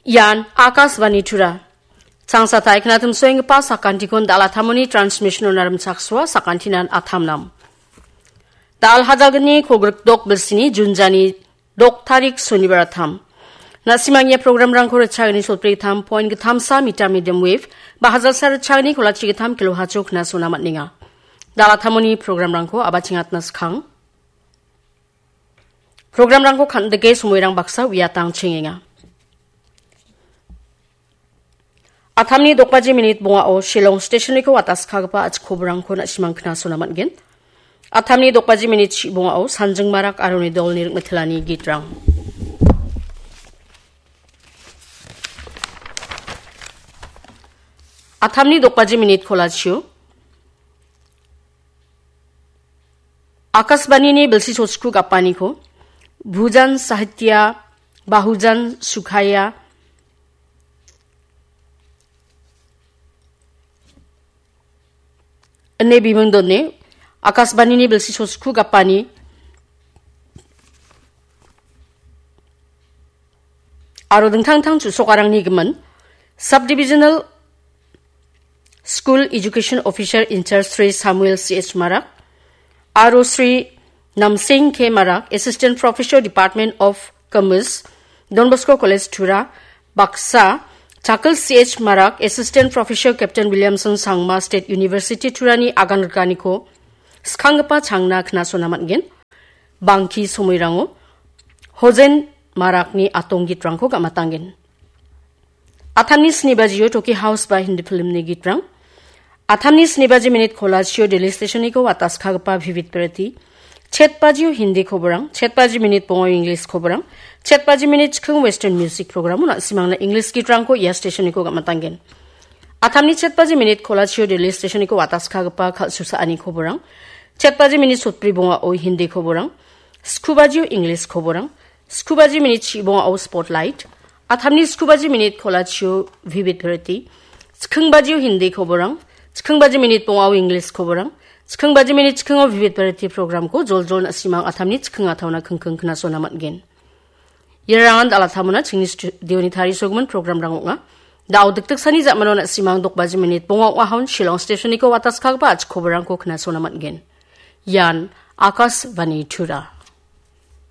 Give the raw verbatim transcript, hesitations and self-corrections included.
Ian Akashvani Tura. Changsatai knatim soenggipa sakantikon dalatamoni transmission-o narimchaksoa sakantinan atamnam. Dal hajalgni kolgrikdok bilsini Junjani dok tarik sonibar atam. Nasimangnia programrangko richagni sotbri gittam point gittamsa meter medium wave, ba hajalsa richagni kolachi gittam kilohertz-o knasona man·enga. Dalatamoni programrangko abachingatna skang. Programrangko kan·dike somoirang baksa uiatang chengenga. Atamni dok baji minit bongao Shillong stationiko wataskagipa achikobrangko na·simang knasona man·gen. Atamni dok baji minit si bongao Sanjing Marak aro uni dolni rik·mittelani gitrang. Atamni dok baji minit kolachio Akashvanini bilsi sosku gapaniko Bhujan Sahitya, Bahujan Sukhaya, ine bimingdone Akashvanini bilsi sosku gapani aro dingtang dingtang chu·sokarangni gimin Subdivisional School Education Officer in charge Sri Samuel C H Marak, aro Sri Namsing K Marak, Assistant Professor, Department of Commerce, Don Bosco College, Tura, baksa, Chakil C H Marak, Assistant Professor, Captain Williamson Sangma, State University, Turani agan rikaniko skanggipa changna knasona man·gen. Bangki somoirango Hojen Marakni atong gitrangko gam·atanggen. Atamni sni bajio Toki House ba Hindi filmni gitrang. Atamni sni baji minit kolachio Delhi stationiko wataskagipa Vivid Bharati. Chet bajio Hindi koborang, chet baji minit bongao English koborang, chet baji minit chikking Western music program-o na·simangna English gitrangko ia stationiko gam·atanggen. Atamni chet baji minit kolachio Delhi stationiko wataskagipa kal·susaani koborang. Chet baji minit sotbri bongao Hindi koborang. Sku bajio English koborang. Sku baji minit si bongao Spotlight. Atamni sku baji minit kolachio Vivid Bharati. Chikking bajio Hindi koborang. Chikking baji minit bongao English koborang. Chikking baji minit chikkingo Vivid Bharati programko joljol na·simang atamni chikking ataona kingking knasona man·gen. Irangan dalatamona chingni studioni tarisogimin programrang ong·a. Da·o dikdiksani ja·mano na·simang dok baji minit bonga ong·ahon Shillong stationiko wataskagipa achikobrangko knasona man·gen. Ian Akashvani Tura.